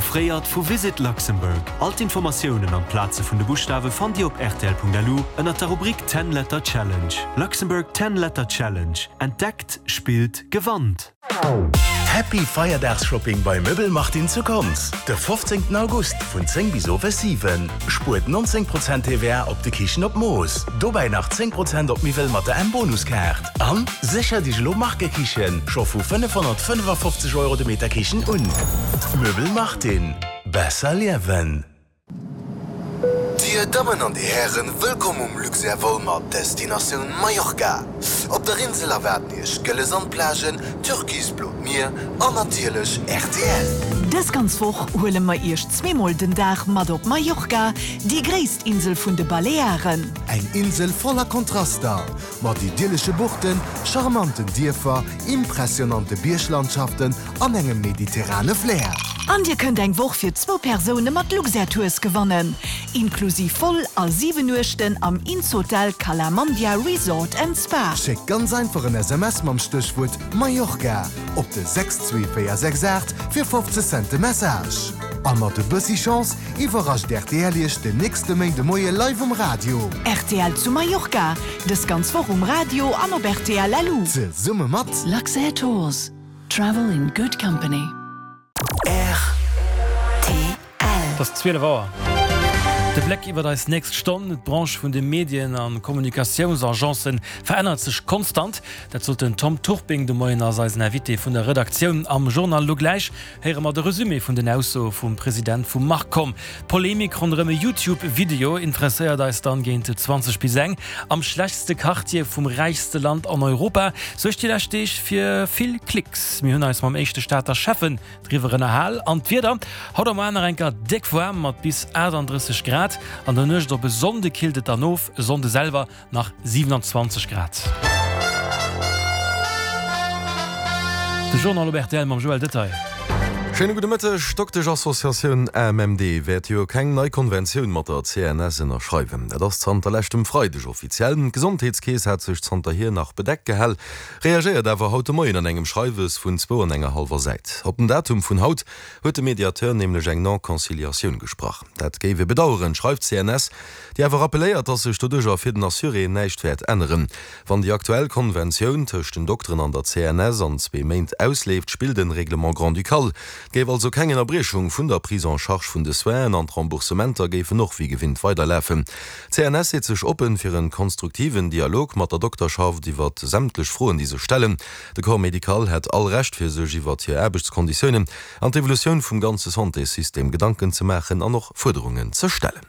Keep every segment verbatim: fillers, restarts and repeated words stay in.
Offréiert vu Visit Luxembourg. All d'Informatiounen an d'Plaze vun de Buschtawe fannt Dir op rtl Punkt L U ënner der Rubrik Ten Letter Challenge. Luxembourg Ten Letter Challenge. Entdeckt, spillt, gewannt! Happy Feierdagsshopping bei Möbel Martin zu Konz. De fofzéngten August vun zéng bis owes siwen. Spuert nonzéng Prozent T V A op de Kichen op Mooss. Dobäi nach zéng Prozent op Miwwel mat der M-Bonuskaart. An sécher dech elo Markekichen scho vu fënnefhonnertfënnefafofzeg Euro de Meter Kichen un. Möbel Martin. Besser liewen. Dir Dammen an Dir Hären, wëllkomm um Luxair Vol mat Destinatioun Mallorca. Op der Insel erwaarden Iech gëlle Sandplagen, türkisblot Mier an natierlech R T L. Dës ganz Woch huele mer Iech zweemol den Dag mat op Mallorca, déi gréisst Insel vun de Balearen. Eng Insel voller Kontraster, mat idyllesche Buchten, charmanten Dierfer, impressionante Bierglandschaften an engem mediterrane Flair. An Dir kënnt eng Woch fir zwou Persoune mat Luxair Tours gewannen. Inklusiv Vol a siwen Nuechten am Insotel Cala Mandia Resort and Spa. Schéckt ganz einfach en S M S mam Stéchwuert Mallorca op de sechs zwee véier sechs aacht fir fofzeg Cent de Message. A mat e bëssi Chance iwwerrascht R T L Iech den nächste Méinde Moie live um Radio. R T L zu Mallorca, dës ganz Woch um Radio an op R T L L U. Zesumme mat Luxair Tours. Travel in good company. R T L. Et ass zwielef Auer. De Bléck iwwer eis nächst Stonn. D'Branche vun de Medien an Kommunikatiounsagencen verännert sech konstant. Dat sot den Tom Turping de Moien als eisen Invité vun der Redaktioun am Journal. Lo gläich héiere mer de Resumé vun den Aussoe vum President vum Marcom. Polemik ronderëm e YouTube-Video interesséiert eis dann géint zwanzeg bis eng. Am schlechtste Quartier vum räichste Land an Europa suergt déi lescht Deeg fir vill Klicks. Mir hunn eis mam éischte Stater Schäffen driwwer ënnerhal. An d'Wieder, haut a muer nach eng Kéier déck waarm mat bis achtandrësseg Grad. An der Nuecht op e Sonnde killt et dann of, e Sonnde selwer nach siewenundzwanzeg Grad. De Journal op R T L mam Joël Detail. Schéine gudde Mëtteg. D'Doktesch-Associatioun A M M D wäert jo keng nei Konventioun mat der C N S ënnerschreiwen. Dat ass zanter leschtem Freideg offiziell. D'Gesondheetskeess hat sech zanterhier nach bedeckt gehal, reagéiert awer haut de Moien an engem Schreiwes vun zwou an enger hallwer Säit. Op den Datum vun haut huet de Mediateur nämlech eng Non-Conciliatioun gesprach. Dat géif e bedaueren, schreift d'C N S, déi awer rappelléiert, datt sech doduercher fir den Assuré näischt wäert änneren. Wann déi aktuell Konventioun tëscht den Dokteren an der C N S an zwee Méint ausleeft, spillt de Règlement grand-ducal. Et géif also keng Ënnerbriechung vun der Prise en charge vun de Soinen an d'Remboursementer géifen och wéi gewinnt weiderlafen. D'C N S seet sech oppen fir en konstruktiven Dialog mat der Dokterschaft iwwer sämtlech Froen, déi sech stellen. De Corps médical hätt all Recht fir sech iwwer hir Aarbechtskonditiounen an d'Evolutioun vum ganze Santéssystem Gedanken ze maachen an och Fuerderungen ze stellen.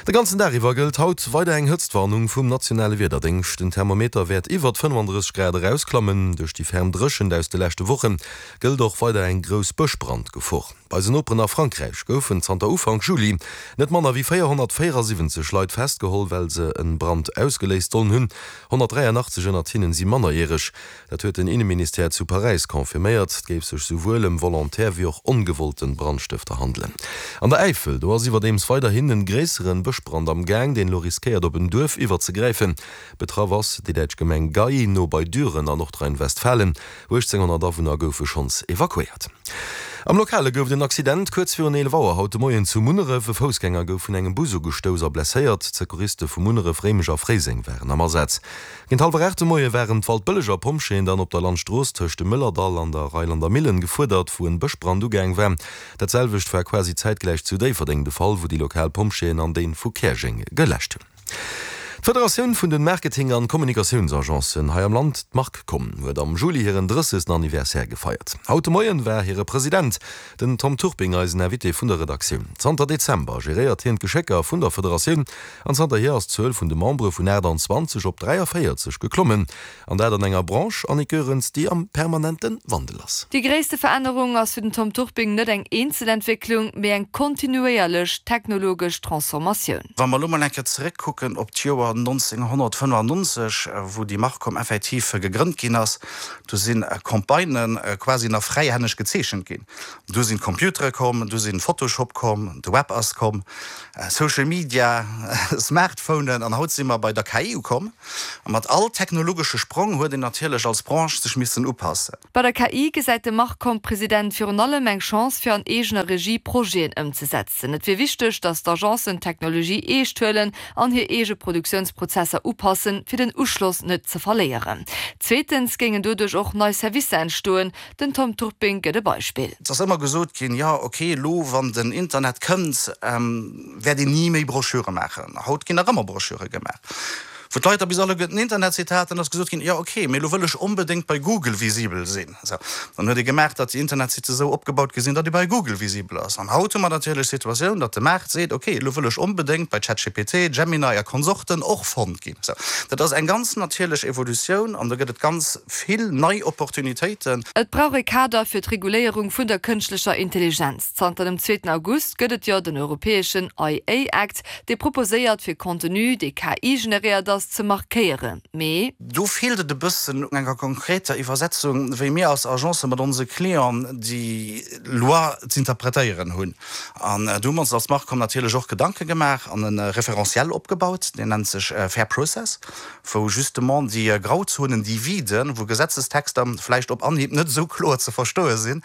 De ganzen Dag iwwer gëllt haut weider eng Hëtztwarnung vum nationale Wiederdéngscht. Den Thermometer wäert iwwer fënnefandrësseg Grad erausklammen. Duerch déi ferm Dréchent aus de leschte Woche gëllt och weider eng grouss Bëschbrandgefor. Bei eisen Noperen a Frankräich goufen zanter Ufank Juli net manner wéi véierhonnertvéierasiwwenzeg Leit festgeholl, well se en Brand ausgeléist sollen hunn. Honnertdräianachtzeg ënnert hinnen si mannerjäreg. Dat huet den Inneministère zu Paräis confirméiert. Et géif sech souwuel ëm volontaire wéi och ongewollten Brandstëfter handelen. An der Äifel, do ass iwwerdeems weiderhin en gréisseren Bëschbrand am Gaang, deen elo riskéiert op en Duerf iwwerzegräifen. Betraff ass déi däitsch Gemeng Gey no bei Düren an Nordrhein-Westfalen. Uechtzénghonnert Awunner goufe schonns evakuéiert. Am Lokale gouf et en Accident kuerz virun eelef Auer haut de Moien zu Munneref. E Foussgänger gouf vun engem Bus ugestouss a blesséiert. D'Secouriste vu Munneref, Réimech a Fréiseng waren am Asaz. Géint hallwer aacht de Moie waren d'Waldbëlleger Pompjeeën dann op der Landstrooss tëscht dem Mëllerdall an der Reilander Millen gefuerdert, wou en Bëschbrand ugaang war. Dat selwecht war quasi zäitgläich zu Déifferdeng de Fall, wou déi lokal Pompjeeën an deen vu Käerjeng geläscht hunn. D'Federatioun vun den Marketing an Kommunikatiounsagencen hei am Land, d'Markcom, huet am Juli hiren drëssegsten Anniversaire gefeiert. Haut de Moien war hire President, den Tom Turping, eisen Invité vun der Redaktioun. Zanter Dezember geréiert hien d'Geschécker vun der Federatioun an zanterhier ass d'Zuel vun de Membere vun aachtanzwanzeg op dräiavéierzeg geklommen. An dat an enger Branche, Annick Goerens, déi am permanente Wandel ass. Déi gréisste Verännerung ass fir den Tom Turping net eng Eenzelentwécklung, mee eng kontinuéierlech technologesch Transformatioun. Wa mer lo mol eng Kéier zeréckkucken op d'Joer Joer nonzénghonnertfënnefannonzeg, wou déi Marcom effektiv gegrënnt ginn ass, do si Campagnë quasi nach fräihänneg gezeechent ginn. Du sinn d'Computere komm, du sinn Photoshop komm, de Web ass komm, Social Media, Smartphonen an haut si mer bei der K I ukomm. A mat all technologesche Sprong huet een natierlech als Branche sech missen upassen. Bei der K I gesäit de Marcom-President virun allem eng Chance fir an eegener Regie Projeten ëmzesetzen. Et wier wichteg, datt d'Agencen d'Technologie eescht huelen an hir eege Produktiounsprozesser upassen, fir den Uschloss net ze verléieren. Zweetens géingen doduerch och nei Servicer entstoen. Den Tom Turping gëtt e Beispill. Et ass ëmmer gesot ginn, jo ok, elo wann den Internet kënnt, wäert een ni méi Broschüre maachen. Haut ginn nach ëmmer Broschüre gemaach. Wou d'Leit da bis alleguerten den Internetsite haten, ass gesot ginn, jo ok, mee elo wëll ech onbedéngt bei Google visibel sinn. Sou, dann huet ee gemaach, datt déi Internetsitte esou opgebaut gi sinn, datt ee bei Google visibel ass. An haut hu mer natierlech d'Situatioun, datt de Maart seet, ok, elo wëll ech onbedéngt bei ChatGPT, Gemini a Konsorten och fonnt ginn. Sou, dat ass eng ganz natierlech Evolutioun an do gëtt et ganz vill nei Opportunitéiten. Et brauch e Kader fir d'Reguléierung vun der kënschtlecher Intelligenz. Zanter dem zweeten August gëtt et jo den europäeschen A I Act, dee proposéiert, fir Contenu, dee K I-generéiert ass, ze markéieren. Mee. Do feelt et e bëssen un enger konkreter Iwwersetzung, wéi mir als Agence mat onse Clienten déi Loi z'interpretéieren hunn. An do hu mer ons als Marcom natierlech och Gedanke gemaach an e Référentiel opgebaut, deen nennt sech Fair Process, wou justement déi Grauzonen, déi Viden, wou Gesetzestexter vläicht op Anhieb net esou kloer ze verstoe sinn,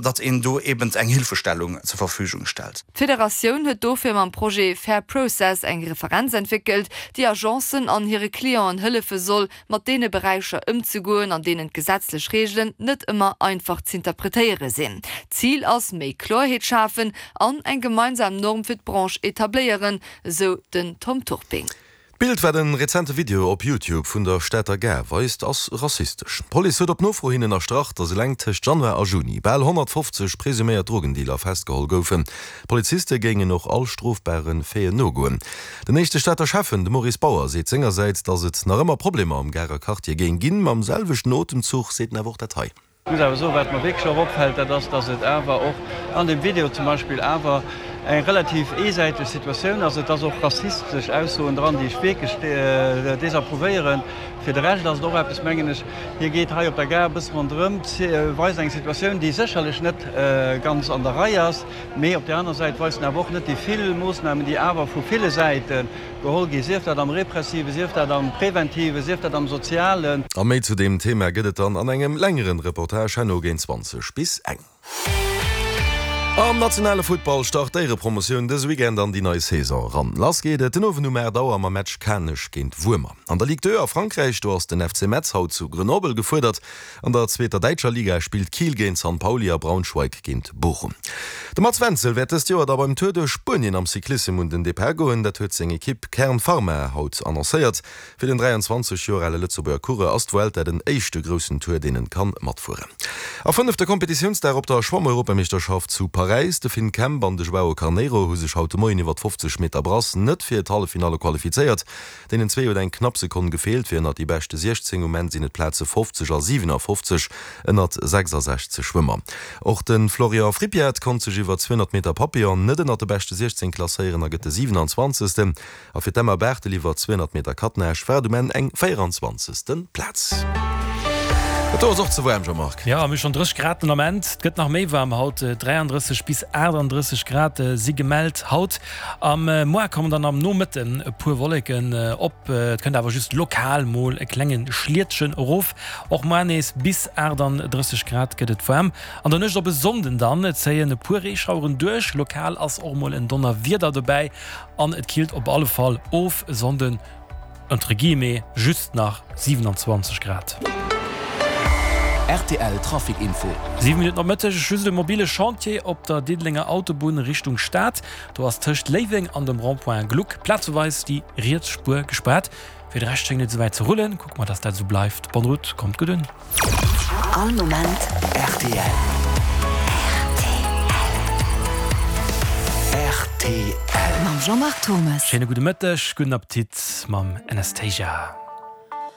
datt een do eben eng Hilfestellung zur Verfügung stellt. D'Federatioun huet dofir mam Projet Fair Process eng Referenz entwéckelt, déi Agencen an hire Clienten hëllefe soll, mat deene Beräicher ëmzegoen, an deenen d'gesetzlech Reegelen net ëmmer einfach z'interpretéiere sinn. Zil ass, méi Kloerheet schafen an eng gemeinsam Norm fir d'Branche etabléieren, esou den Tom Turping. D'Bild, wat e rezente Video op YouTube vun der Stater Gare weist, ass rassistesch. D'Police huet op Nofro hin ënnerstrach, datt eleng tëscht Januar a Juni bal honnertfofzeg presuméiert Drogendealer festgeholl goufen. D'Poliziste géingen och all strofbare Faiten nogoen. Den éischte Stater Schäffen, de Maurice Bauer, seet sengersäits, datt et nach ëmmer Problemer am Garer Quartier géing ginn. Mam selwechten Otemzuch seet en awer och dat hei. Ech muss awer soen, wat mer wierklech och opfält, dat ass, dass et awer och an deem Video zum Beispill awer eng relativ eesäiteg Situatioun ass. Et ass och rassistesch Aussoen dran, déi ech wierklech desapprouvéieren. Fir de Rescht ass et och eppes, mengen ech, hie geet hei op der Gare e bësse ronderëm, weist eng Situatioun, déi sécherlech net ganz an der Rei ass, mee op där aner Säit weist en awer och net déi vill Moossnamen, déi awer vu ville Säite geholl gi, sief dat am Repressiven, sief dat am Preventiven, sief dat am Sozialen. A méi zu deem Thema gëtt et dann an engem längeren Reportage herno géint zwanzeg bis eng. Am nationale Futtball start d'Éierepromotioun dëse Weekend an déi nei Saison eran. Lass geet et den Owend um aacht Auer mam Match Kanech géint Wuermer. An der Ligue deux a Frankräich, do ass den F C Metz haut zu Grenoble gefuerdert. An der zweeter däitscher Liga spillt Kiel géint San Pauli a Braunschweig géint Bochum. De Mats Wenzel wäert dëst Joer da beim Tour duerch Spuenien am Cyclissem un den Depart goen. Dat huet seng Ekipp Kern Pharma haut annoncéiert. Fir den dräianzwanzeg Joer ale Lëtzebuerger Coureur ass d'Vuelta den éischte groussen Tour, deen en kann matfueren. A fënnefte Kompetitiounsdag op der Schwamm-Europameeschterschaft zu Paräis, De Finn Kemp an de Joao Carneiro hu sech haut de Moien iwwer d'fofzeg Meter Brass net fir d'Halleffinalle qualifizéiert. Deenen zwee huet eng knapp Sekonn gefeelt fir ënnert déi beschte siechzéng. Um Enn sinn et d'Plaze fofzeg a siwenafoffzeg ënnert sechsasechzeg Schwëmmer. Och de Florian Frippiat konnt sech iwwer zweehonnert Meter Papillon net ënnert de beschte siechzéng klasséieren a gëtt de siwenanzwanzegsten. A fir d'Emma Barthel iwwer zweehonnert Meter Kattnage war et um Enn eng véieranzwanzegste Plaz. Et do ass och ze waarm, Jean-Marc. Jo, mir hu schonn drësseg Grad den Ament. Et gëtt nach méi waarm haut, dräiandrësseg bis aachtanddrësseg Grad si gemellt haut. Am Moie kommen dann am Nomëtten e puer Wolleken op, et kënnt awer just lokal mol e klenge Schlietchen erof. Och muer nees bis aachtanddrësseg Grad gëtt et waarm. An der Nuecht op e Sonnden dann zéien e puer Reeschaueren duerch, lokal ass och mol en Donnerwieder dobäi an et killt op alle Fall of. E Sonnden entre guillemets just nach siwenanzwanzeg Grad. R T L Trafic Info. Siwe Minutten op Mëtteg, just e mobile Chantier op der Diddelenger Autobunn Richtung Stad. Do ass tëscht Léiweng an dem Rond-point Gluck plazeweis déi riets Spuer gespaart. Fir de Rescht schéngt et souwäit ze rullen. Kucke mer, dass dat esou bleift. Bonne route, kommt gutt un. All Moment R T L. R T L. Mam Jean-Marc Thomes. Schéine gudde Mëtteg, gudden Appetit mam Anastasia.